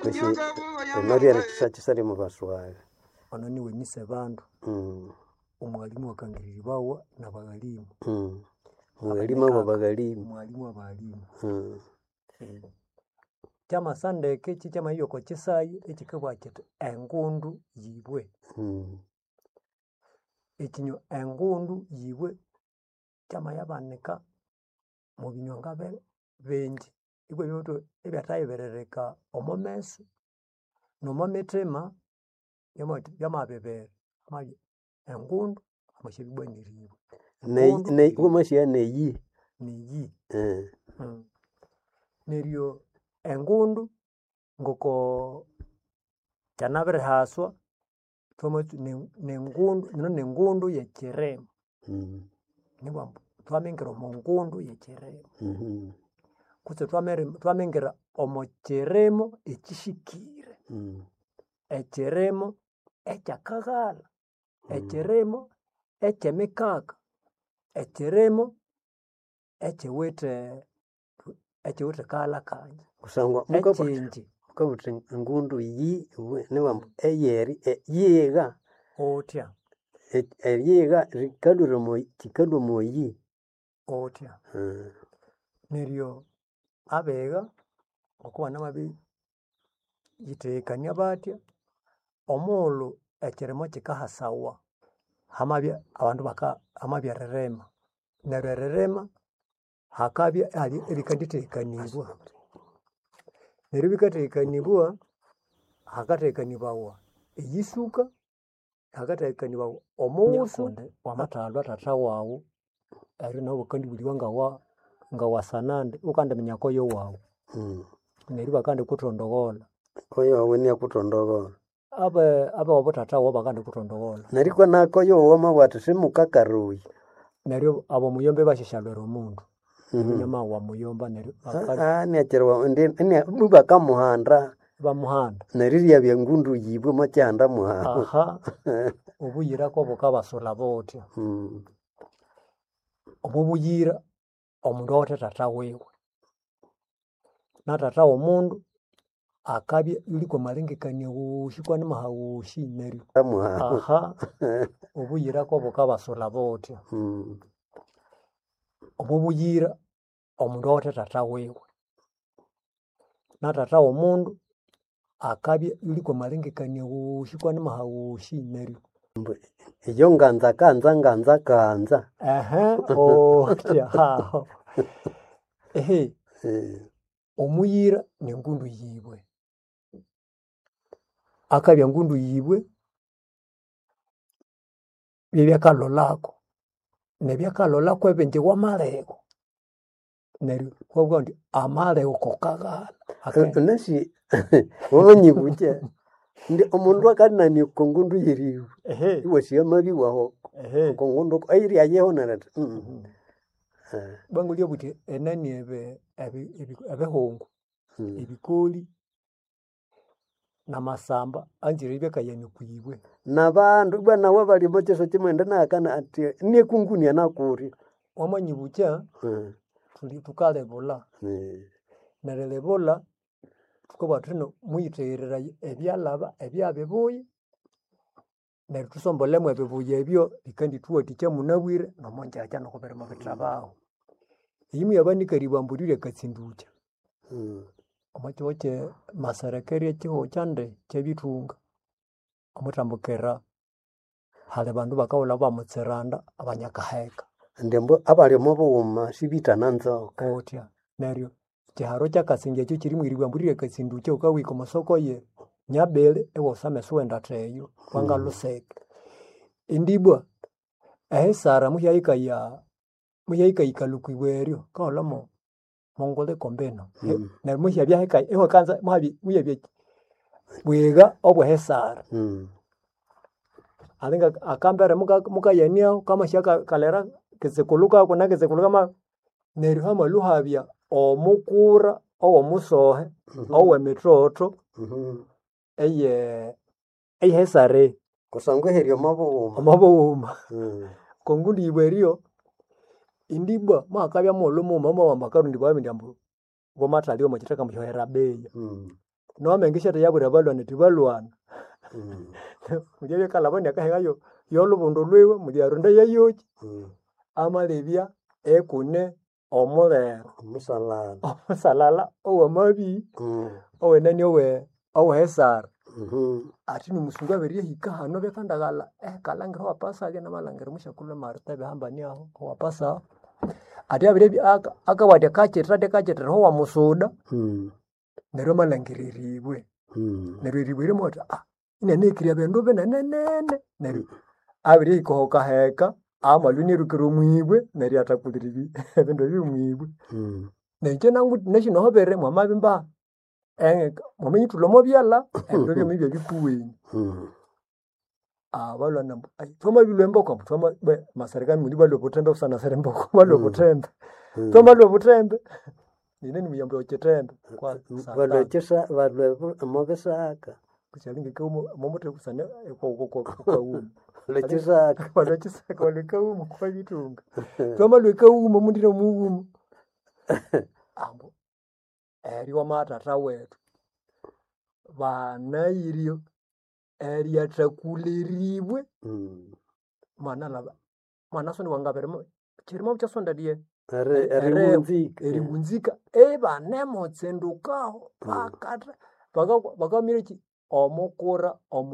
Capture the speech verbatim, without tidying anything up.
Kwesi eno ryeri kisa lyomo baswali. Ono niwe mise bandu. Mm. Omwalimu akangiriribawa nabaghalimu. Mm. Mwalimu abo baghalimu. Omwalimu abaghalimu. Mm. Kyamasandeke kyikyamahika oko kyisayi ekyikabugha kyithi engundu yibwe. Mm. Ekinywa engundu yibwe kyamayabanika mwebinywa ngabi bingi ibwa ibyathayibiririka omo meso nomo mithima byama byamabibera hamabya engundu amasyabya ibwa niribwe. Neyi Engundu neyi wamasiya neyi. Niyi. Eh. Neryo engundu ngoko kyanabirihaswa thwamatsu nengundu eno nengundu yekyirima. Mm. Nibughambu thwamingira omo ngundu yekyirima Mhm. kutse thwamingira omo kirimo ekyihikire. Mm. Ekyirimo ekyakaghalha, ekyirimo ekyemikaka, ekyirimo ekyiwithe ekyiwithe kaghalha kangi. Kusangwa Ekyinji mukabutha engundu yibwe nibughambu eyeri yigha. Uthya. Eyigha rikalhwira omo kyikalhwa omoyi. Uthya. Neryo abigha ngoku banamabiyithegekania bathya, omughulhu ekyirimo kyikahasawa, hamabya abandu baka hamabya eririma. Neryo eririma hakabya ihali ebikanditheghekanibwa. Neryo ebikatheghekanibawa, hakathegekanibawa eyisuka, hakathegekanibawa omughusu. Wamathalwa thatha waghu neryo nawu bakandibulibwa ngawa ngawasanande wukandiminya koyo waghu. Mm. Neryo ibakandikuthondogholha. Koyo wawu iniakuthondogholha. Abe abewabo thatha waghu bakandikuthondogholha. Neryo ikwa nakoyo wawu wamabugha athi simukakarughe. Neryo abomuyomba ibasyasyalhwira omundu. Mhm. Inamawa muyomba neryo Ah, iniakyiriwa indi ibakamuhanda. Ibamuhanda. Neryo iryabya engundu yibwe omwakyihanda mwahu. Aha. Obuyira kobukabasulha buthya. Mm. Omo buyira omundu awithe thatha wiwe. Na thatha womundu akabya iyuli kwamalengekania wosi kwanimaha wosi neryo Mwahu. aha obuyira kobukabasulha buthya. Mm. Omo buyira omundu awithe thatha wiwe. Na thatha womundu akabya iyuli kwamalengekania wosi kwanimaha wosi neryo Iyo nganza kanza nganza kanza. Ehe uthya haho. Ehe Eh. omuyira nengundu yibwe. Akabya ngundu yibwe byebyakalholako nebyakalholako ebingi wamalegho neryo wabugha indi amalegho kokaghalha. Wunasi wamanyibukya indi omundu akanania oko ngundu yeribwe Ehe. iwasigha amabya iwaho Ehe. oko ngundu eyiryayeho neryo athi Bangulya obuthi enani ebe ebi- ebihungu, Mm. ebikoli namasamba anzire ibyakayania okwibwe. Nabandu ibwa nawu abali omo kyiso kimwende nahakana athi niekunguni anakulya. Wamanyibukya Mm. thuli thukalebulha. Mm. Nerilebulha thukabugha thuthi muyitheghereraye ebyalhaba ebyabibuya neryo thusombolemu ebibuya ebyo bikandithuwathikya munabwire nomongyakya nokubirimo bithabaho. Eyi muyabanika eribambo lya katsindukya. Mm. Omo kyihugho kye maserekerya ekyihugho kyande kyebithunga. Omwithambukira hali bandu bakawulha bamutsiranda abanyakaheka. Indi ambu abali omo bughuma sibithana nzoka. Uthya neryo kyiharo kyakasingya ekyo kyiri mwiribambo lya katsindukya wukahika omo soko ye Nyabili iwusa ameso iwendatha eyo wangalhuseka. Indi ibwa ehisara muhyahikaya muhyahikayikalha okwibwe eryo wukahulhamo monguliko mbino. Mm. Neryo muhyabya hikayi iwakanza muhabya muhyabya bwigha obwehisara. Mm. Alinga akambere muka mukayaniaho kamasya kalera kitsikulu kaku na kitsikulu kama neryo hamalhwa ihabya omukura owomusohe Mhm. owemitotho Mhm. eye eyehisara eyi. Kusangwa ihiri omo bughuma. Omo bughuma. Mm. Okongundu yibwe eryo indi ibwa muhakabya mughulhu mughuma mwamabugha ambu bakarundibawa indi ambu wamathalya omo kithaka ambu syohera beya. Mm. Nomenge syathe yabwira abalhwana athi balhwana. Mm. Mulya byakalhabani akahengayo yolubundu lwiwe mulya aronda yayoki Mm. amalebya ekune omulere Omusalala. omusalala owamabi Mm. owenani owe owehesara Mhm. athi nomusungu abirihika hano byakandaghalha ekalangira owapasa namalhangira omusyakulhu Martha ebihambani aho owapasa athi abiribya aka- akabugha athi akakyitira athi akakyitira owamusuda Mm. neryo amalhangira eribwe Mm. neryo eribwe rimwe athi ah inanekirya bindu binenenene neryo abirihika oho kaheka amalwa inirukira omwibwe neryo athakulira ebi- ebindu ebi omwibwe Mm. neryo inje nashinohobere mwamabimba eh, mwaminyithulha omo byalha ebindu byomibya bikuwenyu Mm. abalwana ambu "Ai, thwamabilwa emboko ambu thwama bwe maserikali muli balwa obuthembe busana siri mboko balwa Mm. obuthembe Mm. thwamalwa obuthembe nine nimuyambo okyithembe kwa Balwa satani ekisa balwa omo bisaka. kusyalinga kaumo momuthe kusana kwaumo Balwa ekisaka. balwa ekisaka balwa ekaumo kwa bitunga thwamalwa ekaumo mundire mughuma ambu eryo wamathatha wethu banayiryo eryathakuliribwe Mm. mwana laba mwana sonde wangabirimo kirimo kyasonda lye Eri- ere- eriwunzika. eriwunzika ibanemutsindukaho Mm. bakatha bakamira ki omukura omu